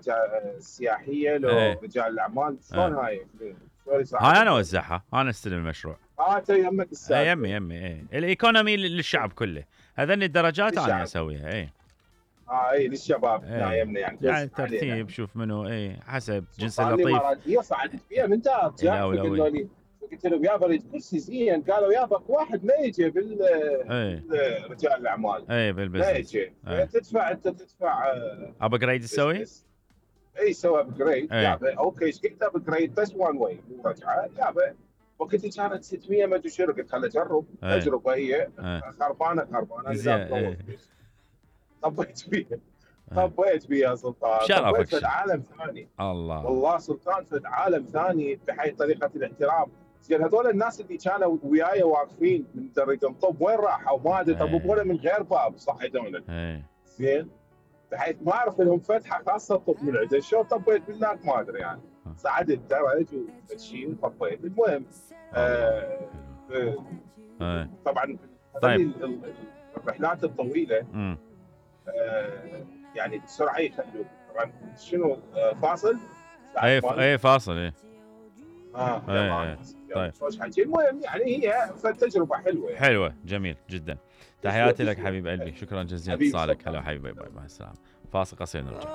السياحيه لو ايه رجال الاعمال شلون هاي شلون هاي انا اوزعها، انا استلم المشروع. انت يمك السالفه. يمي ايه الايكونومي للشعب كله، هذني الدرجات انا اسويها. اي للشباب هنا ايه يمنا يعني ترتيب، شوف منو حسب جنس صار لي اللطيف مرات هي صعدت فيها من دارت الاولويه. قلت لهم يابا اريد كرسي زين، قالوا يابا واحد ما يجي بالرجال الاعمال ما بالبزنس. يجي تدفع انت تدفع ابجريد تسوي؟ اي سوى ابجريد يابا اوكي ايش قلت ابجريد بس وان واي مو رجعه يابا. وقتها كانت 600 ما ادري شنو، قلت خل اجرب تجربه هي خربانه زين. طبيت فيها سلطان، طبيت في عالم ثاني. الله والله سلطان في عالم ثاني بحي طريقه الاحترام. زين هذول الناس اللي كانوا وياي واقفين من درجهم طب وين راحوا ما ادري، طبوا من غير باب صحيتونا. زين بحيث ما اعرف لهم فتحه خاصه طب من عندهم، شو طبيت بالناك ما ادري يعني. صعدت الدرج وشيء وطبيت. المهم طبعا طيب الرحلات الطويله يعني بسرعه يخلوك طبعا شنو فاصل؟ اي فاصل طيب المهم يعني هي تجربه حلوه جميل جدا. تحياتي لك حبيب قلبي، شكرا جزيلا اتصالك. هلا حبيبي، باي باي، مع السلامه. فاصل قصير نرجع.